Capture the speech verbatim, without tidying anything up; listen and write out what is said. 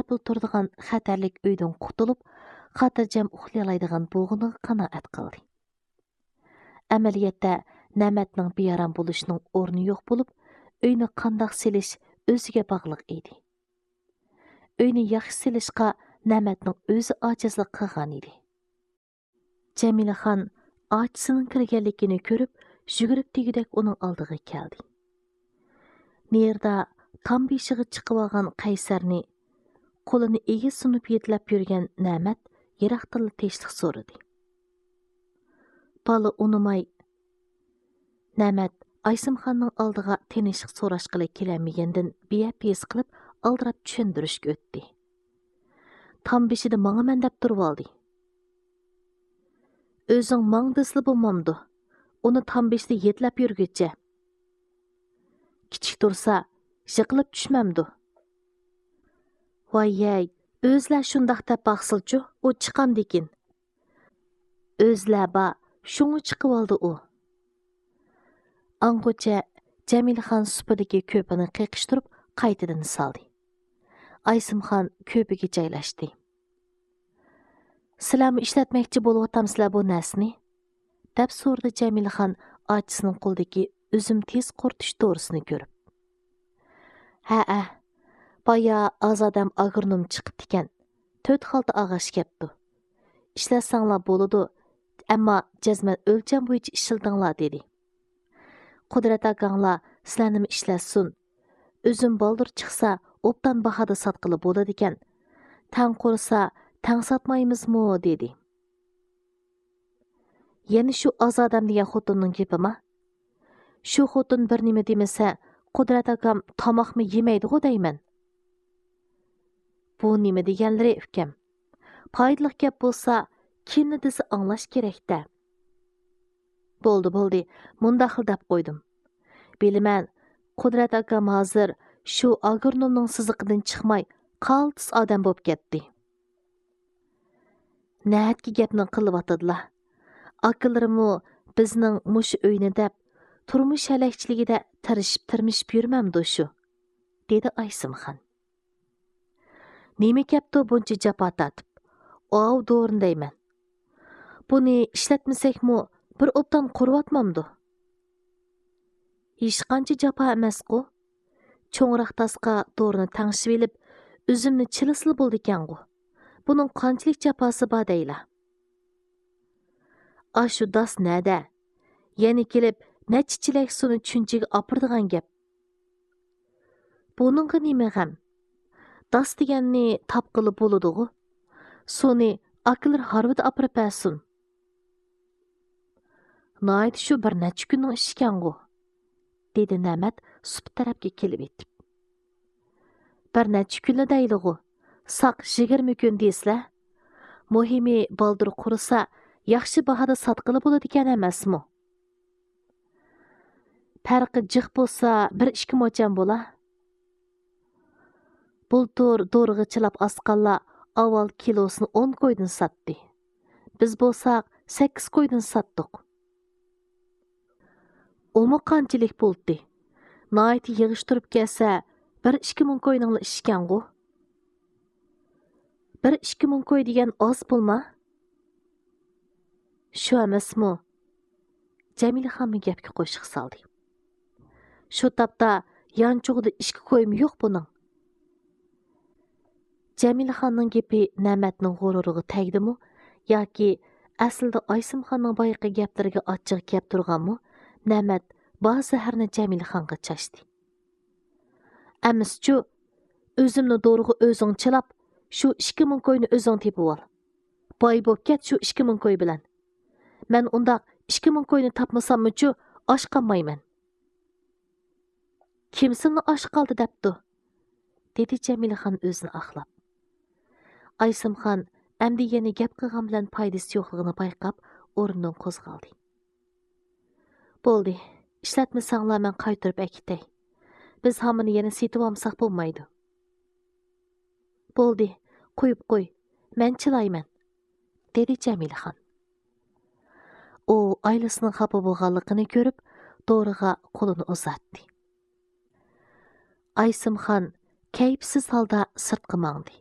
پۇل تۇرىدىغان خەتەرلىك ئۆيدىن قۇتۇلۇپ، خاتىرجەم ئۇخلىيالايدىغان بولغىنىغا قانائەت قىلدى. ئەمەلىيەتتە، نەمەتنىڭ بىئارام بولۇشىنىڭ ئورنى يوق بولۇپ، ئۆينى قانداق سېلىش ئۆزىگە باغلىق ئىدى. ئۆينى ياخشى سېلىشقا نەمەتنىڭ ئۆزى ئاجىزلىق قىلغان ئىدى. جەمىلىخان ئاچىسىنىڭ كىرگەنلىكىنى كۆرۈپ، يۈگۈرۈپ دېگۈدەك ئۇنىڭ ئالدىغا كەلدى. نېرىدا تام بېشىغا چىقىۋالغان قەيسەرنى قولىنى ئېگىز سۇنۇپ يېتىلەپ يۈرگەن نەمەت يىراقتىنلا تىنچلىق سورىدى. بالا ئۇنىماي، نەمەت ئايسىمخاننىڭ ئالدىغا تىنچلىق سوراشقىلى كېلەلمىگەندىن بىيەپ ھېس قىلىپ، ئالدىراپ چۈشەندۈرۈشكە ئۆتتى. تام بېشىدا ماڭىمەن دەپ تۇرۇۋالدى. ئۆزۈڭ ماڭ دېسىلا بولمامدۇ؟ ئۇنى تام بېشىدا يېتىلەپ يۈرگۈچە. كىچىك تۇرسا، يىقىلىپ چۈشمەمدۇ؟ ۋاي-يەي، ئۆزلەر شۇنداق دەپ باقسىلىچۇ، ئۇ چىقامدىكىن. ئۆزلەر بار، شۇڭا چىقىۋالدى ئۇ. ئاڭغىچە جەمىلىخان سۇپىدىكى كۆپىنى قېقىشتۇرۇپ، قايتىدىن سالدى. ئايسىمخان كۆپىگە جايلاشتى. سىلەرمۇ ئىشلەتمەكچى بولۇۋاتامسىلەر بۇ نەرسىنى؟ دەپ سورىدى جەمىلىخان ئاچىسىنىڭ قولىدىكى ئۈزۈم تېز قۇرۇتۇش دورىسىنى كۆرۈپ. ھەئە، بايا ئازادەم ئاگرونوم چىقىپتىكەن. تۆت خالتا ئاغاچ كەپتۇ. ئىشلەتسەڭلار بولىدۇ، ئەمما جەزمەن ئۆلچەم بويىچە ئىشلىتىڭلار، دېدى. قۇدرەت ئاكاڭلار سىلەرنىمۇ ئىشلەتسۇن. ئۈزۈم بالدۇر چىقسا، ئوبدان باھادا ساتقىلى بولىدىكەن. تەڭ قۇرسا، تەڭ ساتمايمىزمۇ؟ دېدى. يەنە شۇ ئازادەم دېگەن خوتۇننىڭ گېپىما؟ شۇ خوتۇن بىر نېمە دېمىسە، قۇدرەت ئاكام تاماقمۇ يېمەيدىغۇ دەيمەن. بۇ نېمە دېگەنلىرى، ئۇكام؟ پايدىلىق گەپ بولسا، كىمنى دېسە ئاڭلاش كېرەك-دە. بولدى، بولدى، مۇنداقلا دەپ قويدۇم. بىلىمەن، قۇدرەت ئاكام ھازىر شۇ ئاگرونومنىڭ سىزىقىدىن چىقماي، قالتىس ئادەم بولۇپ كەتتى. نەھەتكى گەپنى قىلىۋاتىدىلا. ئاكىلىرىمۇ بىزنىڭ مۇشۇ ئۆينى دەپ، تۇرمۇش ھەلەكچىلىكىدە تىرىشىپ-تىرمىشىپ يۈرمەمدۇ شۇ؟ دېدى ئايسىمخان. نېمە كەپتۇ بۇنچە جاپا تارتىپ؟ ئاۋۇ دورىنى دەيمەن. بۇنى ئىشلەتمىسەكمۇ، بىر ئوبدان قۇرۇۋاتمامدۇ؟ ھېچقانچە جاپا ئەمەسقۇ؟ چوڭراق تاسقا دورىنى تەڭشىۋېلىپ، ئۈزۈمنى چىلىسىلا بولىدىكەنغۇ. بۇنىڭ قانچىلىك جاپاسى بار دەيلا؟ ئاشۇ داس نەدە؟ يەنە كېلىپ نەچچە چېلەك سۇنى چۈنچىگە ئاپىرىدىغان گەپ. بۇنىڭغا نېمە غەم؟ داس دېگەننى تاپقىلى بولىدىغۇ. سۇنى ئاكىلىرى ھارۋىدا ئاپىرىپ بەرسۇن. ناھايىتى شۇ بىر نەچچە كۈننىڭ ئىشىكەنغۇ، دېدى نەمەت سۇپا تەرەپكە كېلىۋېتىپ. بىر نەچچە كۈنلا دەيلىغۇ، ساق يىگىرمە كۈن دېسىلە. مۇھىمى بالدۇر قۇرۇسا، ياخشى باھادا ساتقىلى بولىدىكەن ئەمەسمۇ؟ پەرقى جىق بولسا، بىر ئىككى موچەن بولا. بۇلتۇر دورىغا چىلاپ ئاسقانلار ئاۋۋال كىلوسىنى ئون كويدىن ساتتى. بىز بولساق سەككىز كويدىن ساتتۇق. ئۇمۇ قانچىلىك بولدى؟ ناھايىتى يىغىشتۇرۇپ كەلسە، بىر ئىككى مىڭ كوينىڭلا ئىشىكەنغۇ. بىر ئىككى مىڭ كوي دېگەن ئاز پۇلما؟ شۇ ئەمەسمۇ؟ جەمىلىخانمۇ گەپكە قوشۇق سالدى. شۇ تاپتا يانچۇقىدا ئىككى كويمۇ يوق بۇنىڭ. جەمىلىخاننىڭ گېپى نەمەتنىڭ غۇرۇرىغا تەگدىمۇ ياكى ئەسلىدە ئايسىمخاننىڭ بايىقى گەپلىرىگە ئاچچىقى كەپ تۇرغانمۇ، نەمەت بار زەھەرنى جەمىلىخانغا چاچتى. ئەمىسىچۇ، ئۆزۈمنى دورىغا ئۆزۈڭ چىلاپ، شۇ ئىككى مىڭ كوينى ئۆزۈڭ تېپىۋال. باي بوپ كەت شۇ ئىككى مىڭ كوي بىلەن. مەن ئۇنداق ئىككى مىڭ كوينى تاپمىساممۇچۇ، ئاچ قالمايمەن. كىم سېنى ئاچ قالدى دەپتۇ؟ دېدى جەمىلىخان ئۆزىنى ئاقلاپ. ئايسىمخان ئەمدى يەنە گەپ قىلغان بىلەن پايدىسى يوقلۇقىنى بايقاپ، ئورنىدىن قوزغالدى. بولدى، ئىشلەتمىسەڭلار مەن قايتۇرۇپ ئەكېتەي. بىز ھامىنى يەنە سېتىۋالمىساق بولمايدۇ. بولدى، قويۇپ قوي، مەن چىلايمەن، دېدى جەمىلىخان. ئۇ ئائىلىسىنىڭ خاپا بولغانلىقىنى كۆرۈپ، دورىغا قولىنى ئۇزاتتى. ئايسىمخان كەيپسىز ھالدا سىرتقا ماڭدى.